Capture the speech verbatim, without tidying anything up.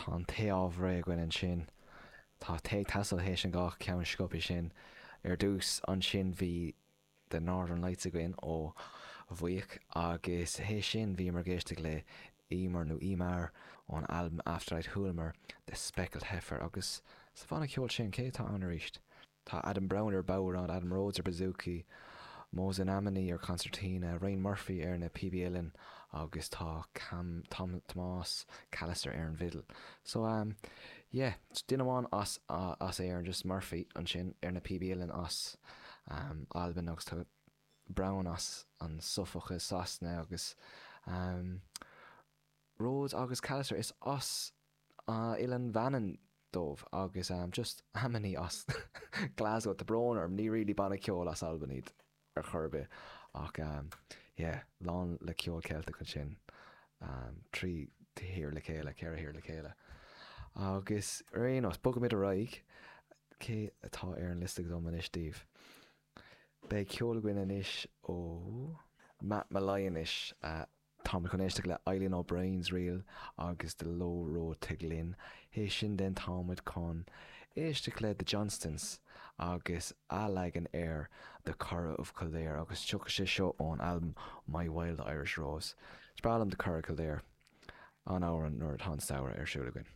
Tá an tae réidh againn ansin. Tá tae teasa théis an dhá cheann sciobtha sin. Ar dtús ansin bhí The Northern Lights againn ó Bhuíoch agus théis sin bhíomar ag éisteacht le Emer nó Eimear ón albam Afterlight Chualamar The Speckled Heifer agus sa bhanna ceoil sin cé atá ann arís. Tá Adam Brown ar bodhrán, Adam Rhodes ar bouzouki, Mohsen Amini ar concertina, Rain Murphy ar na píobaí uilleann agus tá Cam Tom Tomás Callister ar an bhfidil. So um, yeah, duine amháin as uh, as Éirinn just Murphy ansin ar na píobaí uilleann as um, Albain agus tá Brown as an Suffolk i Sasana agus um, Rhodes agus Callister is as uh, Oileán Mhanann dóibh agus um, just Amini as Glasgow tá brón orm ní really banna ceoil as Albain iad ar chor ar bith ach um, yeah, lán le ceol Ceilteach ansin um, trí thír le chéile ceithre thír le chéile. Agus ar aon nós bogaimid ar aghaidh cé atá ar an liosta dom anois daoibh. Beidh ceol againn anois ó Matt Molloy anois uh, Tá chun éisteacht le Eileen O'Brien's Reel agus The Low Road to Glin. Théis sin den táimid chun éisteacht le The Johnstons agus a leagan ar The Curragh of Kildare agus tiocfaidh sé seo ón albam My Wild Irish Rose. Is breá liom The Curragh Kildare an amhrán nuair atá an samhradh ar siúl againn.